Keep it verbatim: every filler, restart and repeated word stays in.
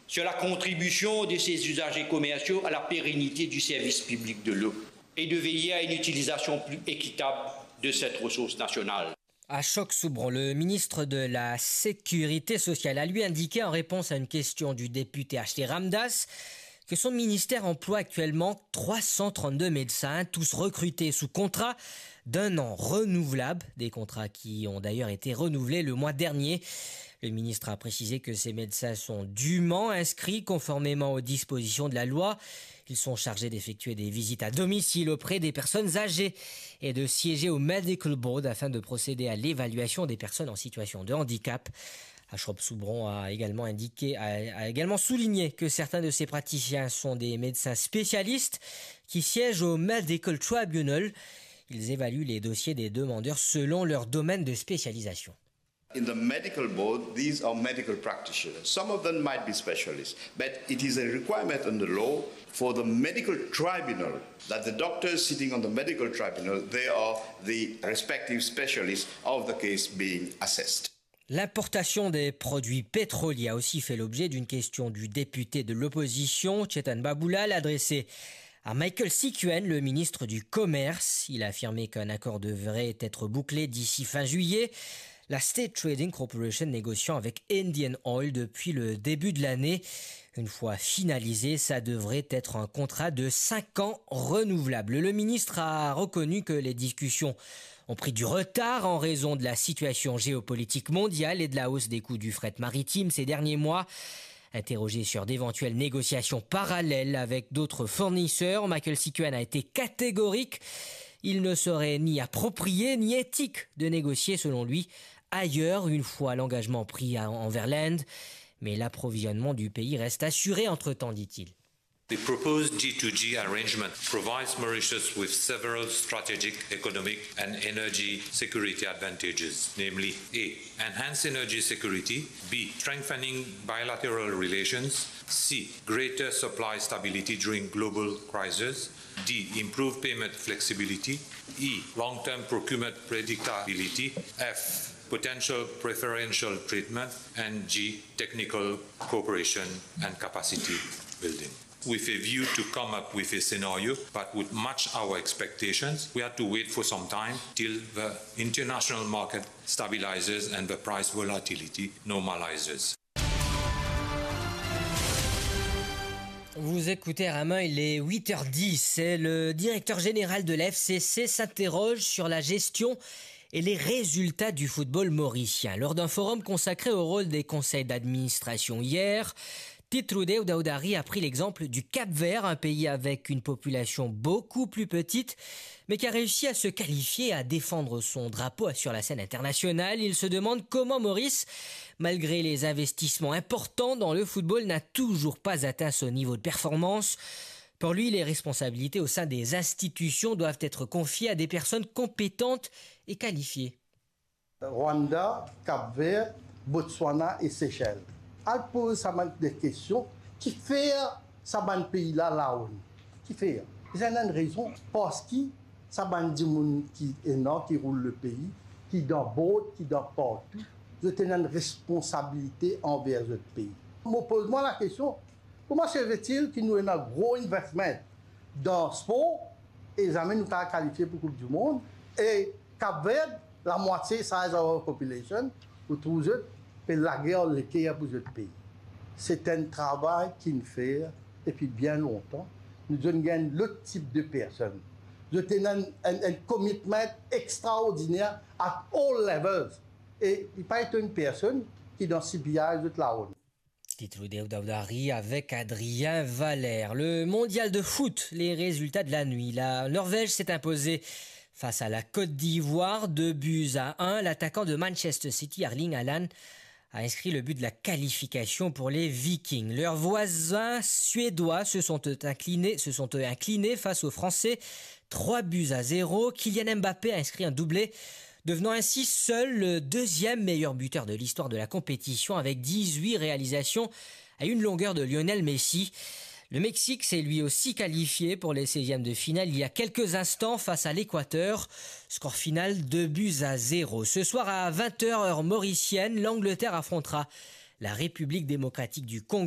sur la contribution de ses usagers commerciaux à la pérennité du service public de l'eau et de veiller à une utilisation plus équitable de cette ressource nationale. Ashok Soubron, le ministre de la Sécurité sociale, a lui indiqué en réponse à une question du député H T Ramdass que son ministère emploie actuellement trois cent trente-deux médecins, tous recrutés sous contrat d'un an renouvelable, des contrats qui ont d'ailleurs été renouvelés le mois dernier. Le ministre a précisé que ces médecins sont dûment inscrits conformément aux dispositions de la loi. Ils sont chargés d'effectuer des visites à domicile auprès des personnes âgées et de siéger au Medical Board afin de procéder à l'évaluation des personnes en situation de handicap. Ashok Soubron a également indiqué, a, a également souligné que certains de ces praticiens sont des médecins spécialistes qui siègent au Medical Tribunal. Ils évaluent les dossiers des demandeurs selon leur domaine de spécialisation. In the medical board, these are medical practitioners. Some of them might be specialists, but it is a requirement in the law for the medical tribunal that the doctors sitting on the medical tribunal, they are the respective specialists of the case being assessed. L'importation des produits pétroliers a aussi fait l'objet d'une question du député de l'opposition, Chetan Baboulal, adressée à Michael Sikuen, le ministre du Commerce. Il a affirmé qu'un accord devrait être bouclé d'ici fin juillet, la State Trading Corporation négociant avec Indian Oil depuis le début de l'année. Une fois finalisé, ça devrait être un contrat de cinq ans renouvelable. Le ministre a reconnu que les discussions ont pris du retard en raison de la situation géopolitique mondiale et de la hausse des coûts du fret maritime ces derniers mois. Interrogé sur d'éventuelles négociations parallèles avec d'autres fournisseurs, Michael Sikuen a été catégorique. Il ne serait ni approprié ni éthique de négocier, selon lui, ailleurs, une fois l'engagement pris à, envers l'Inde. Mais l'approvisionnement du pays reste assuré entre-temps, dit-il. The proposed G two G arrangement provides Mauritius with several strategic, economic, and energy security advantages, namely: A, enhanced energy security; B, strengthening bilateral relations; C, greater supply stability during global crisis; D, improved payment flexibility; E, long-term procurement predictability; F, potential preferential treatment; and G, technical cooperation and capacity building. With a view to come up with a scenario, but would match our expectations, we had to wait for some time till the international market stabilizes and the price volatility normalizes. Vous écoutez, Romain, il est huit heures dix. C'est le directeur général de la F C C s'interroge sur la gestion et les résultats du football mauricien. Lors d'un forum consacré au rôle des conseils d'administration hier, Titrudeu Daudari a pris l'exemple du Cap-Vert, un pays avec une population beaucoup plus petite, mais qui a réussi à se qualifier, à défendre son drapeau sur la scène internationale. Il se demande comment Maurice, malgré les investissements importants dans le football, n'a toujours pas atteint ce niveau de performance. Pour lui, les responsabilités au sein des institutions doivent être confiées à des personnes compétentes et qualifiées. Rwanda, Cap-Vert, Botswana e Seychelles. Al poz sa bann de kestion, kifer sa bann pei la laone? Kifer? Li ena enn rezon, parski sa bann dimoun ki ena, ki roul lepei, ki dan board, ki dan partou, zot ena enn responsabilite anver zot pei. Mo poz mwa lakestion, kouma se fait-il ki nou ena gro investment dan spor e zame nou kapav kalifie pou Koup di Mond? E Cap-Vert, lamwatie size of our population, ou trouv zot pe lager leker pou zot pei. Se enn travay ki'nn fer depi bien lontan. Nou zot gagn lot tip de personn. Zot ena enn, enn, enn commitment extraordiner at all levels. E li pa etonn personn ki dan C B I zot laone. Titrudeu Daudari avec Adrien Valère. Le mondial de foot, les résultats de la nuit. La Norvège s'est imposée face à la Côte d'Ivoire, deux buts à un. L'attaquant de Manchester City, Erling Haaland, a inscrit le but de la qualification pour les Vikings. Leurs voisins suédois se sont inclinés, se sont inclinés face aux Français, trois buts à zéro. Kylian Mbappé a inscrit un doublé, devenant ainsi seul le deuxième meilleur buteur de l'histoire de la compétition avec dix-huit réalisations à une longueur de Lionel Messi. Le Mexique s'est lui aussi qualifié pour les seizièmes de finale il y a quelques instants face à l'Équateur. Score final, deux buts à zéro. Ce soir à vingt heures, heure mauricienne, l'Angleterre affrontera la République démocratique du Congo.